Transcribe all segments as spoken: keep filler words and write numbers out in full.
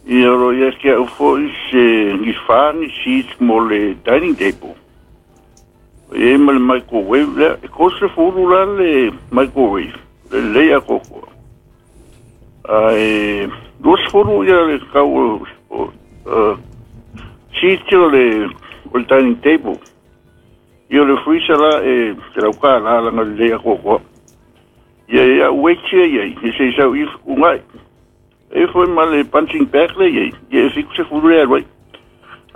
Ia o lo o ia te au foi se ni fa ni seats mo le dining table. O i ai ma le microwave lea, e tolu sefulu la le microwave, lelei atoatoa. Ae lua sefulu ia le tau o, o, uh, seats o le, o le dining table. Ia o le freezer la e selau tala laga lelei atoatoa. Ia e au weights ia i ai, e se i sau i fetuunai. E foi ma le punching bag le i ai, ia e fitu sefulu le alu ai.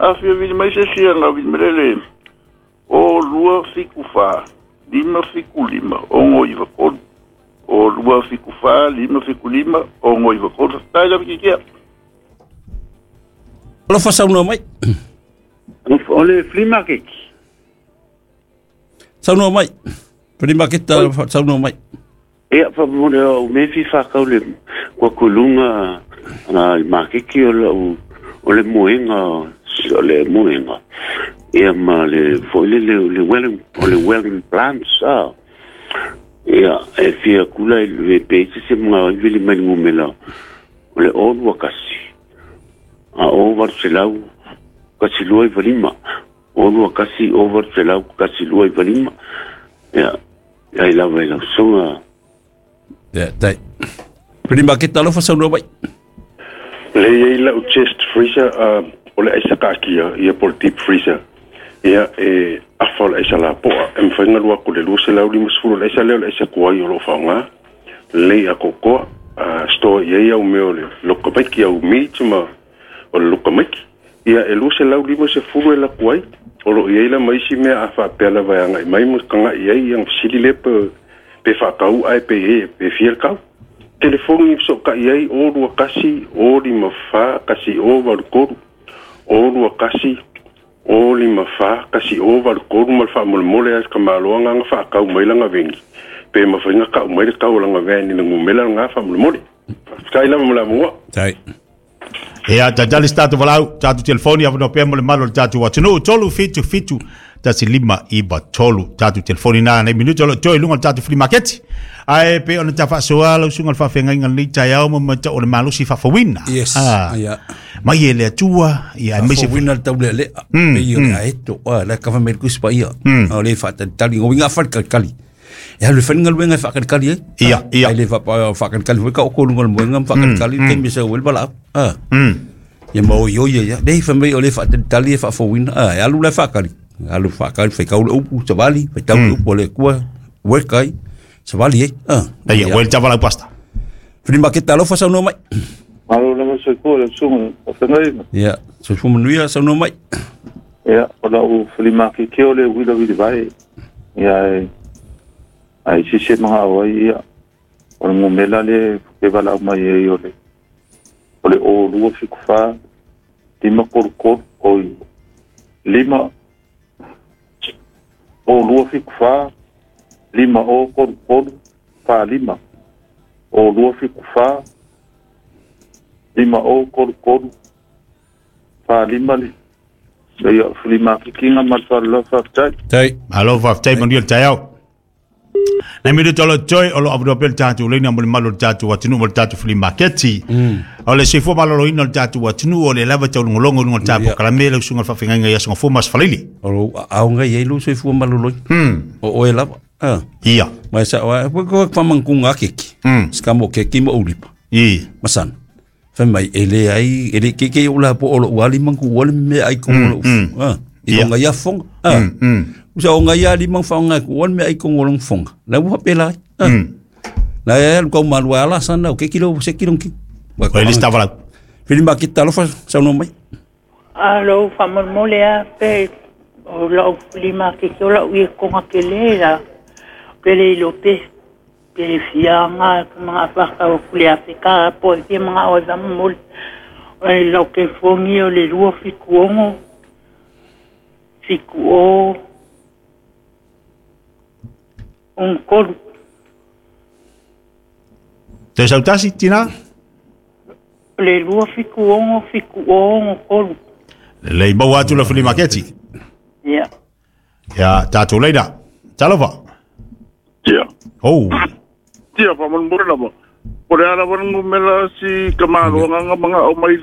A fia vili mai se isi aga vili mai le le o lua fitu fa, lima fitu lima, ono iwa tolu. O lua fitu fa, lima fitu lima, ono iwa tolu. Faafetai lava kikia. Alofa saunoa mai. O le flea market. Saunoa mai. Flea market saunoa mai. Ia, faamolemole au mea e fia faakau le kuakuluga i makeki o lau o le moega o le moega ia ma le foi lele o le welding o le welding plants a ia e fia kula i le pe se se mga i vili mai le ngumela o le o lua kasi a o valu selau kasi lua iva lima o lua kasi o valu selau kasi lua iva lima ia ia i lava i lau soga. Ia, tai. Pili maketa alofa saunoa mai. Le i ai lau chest freezer uh, o le aisa kaakia ia po le deep freezer ia e afa o le aisa lapoa e mafai ona alu atu i le lua selau lima sefulu o le aisa lea o le aisa tuai o lo o faaaoga lelei atoatoa uh, store i ai au mea o le loka maiki au meat ma o le loka maiki ia e lua selau lima sefulu e laku ai o lo o i ai la ma isi mea a faapea lava e agai mai ma taga'i ai ia ona fesili lea pe pe faatau ae pe e pe fia le tau. Telefoni i fesootai ai o lua kasi o lima fa kasi o valu tolu o lua kasi o lima fa kasi o valu tolu ma le faamolemole a le tamaloa agaga faatau mai lana veni pe mafai ona tau mai le tau o lana veni i le numera lena faamolemole. Faafetai lava mo le avanoa. Tai. Ia, tatali se tatou valaau, tatou telefoni avanoa pea mo le malu o le tatou atunuu, tolu fitu fitu tasi lima iva tolu, tatou telefoni na nei minuta o lo o toe i luga o le tatou flea market. Ae pei ona ta faasoa lau susuga i le faafeagaiga i lenei taeao ma matau o le malosi faafouina. Yes, Ah, ia. mai e le Atua, ia aemaise Faafouina le taulealea, pei o le aeto, ah, la e kava mai le Tusi Paia. A o le faatalitali, o uiga faatalitali. E alu e fai le galuega e faakalikali ai. Ia, ia. Ai le faakalikali foi ka oko luga o le moega ma faakalikali le taimi e sau ai le valaau. Ah. Ia ma oi oi ia. Nei fai mai o le faatalitali e faafouina. Ah, e alu la e faakali. Alu faakali, faitau le upu, savali, faitau le upu a le Atua, weka ai, savali ai. Ah. Ia, ua le tavalau pasta. Fili maketa alofa saunoa mai. Malo lava soifua le susuga o feagaiga. Ia, soifua manuia saunoa mai. Ia, o lau filimakeke o le uila uili vae. Ia, e, ai sise maga o ai ia. O le ngumela le ke valaau mai ai o le o le o lua fitu fa lima kolu kolu oi lima o lua fitu fa lima o kolu kolu fa lima o lua fitu fa lima o kolu kolu fa lima le ia filimakikiga ma le faaloloa faafetai. Tai. Malo faafetai manuia le taeao. Nei minuta o lo o toe o lo o avanoa pea le tatou laina mo le malu o le tatou atunuu mo le tatou flea market. O le soifua maloloina o le tatou atunuu o lea lava e taulogologo i luga o le tatou polokalame lau susuga i le faafeagaiga i Aso Gafua ma Aso Faraile. O lou aao ngai ai lou soifua maloloina. O oe lava. Ah. Ia. Ma e sao ai, ko ko whamangunga a keki. Sikamo keki ma ulipa. I. Masana. Fai mai, e le ai, e le keke o la po o lo wali mangu wali me ai kongo lo. Ah. I Ia. longa ia fonga. Ah. Usa o ngai ia lima whaonga ku wali me ai kongo long fonga. La ua pela ai. Ah. La e alu kau malu ala sana o keki lo se kilo ki. O le lista valaau. Fili makita alofa saunoa mai. Alo, faamolemole a pe o lau lima ke ke o lau ia konga ke le la pe le ilo pe pe le fianga ka mga whaka o kule a pe ka po e fia mga o e faamolemole. O e lau ke fongi o le lua fiku ongo fiku o un kolu. Toe sautasi, tina? Le lua fiku ongo fiku o ongo kolu. Lelei maua atu le flea market. Ia. Ia, tatou laina. Talofa. Ia. Oh. Ia, faamolemole lava. Po o le a lava le numera si ka maloagaga magaʻo mai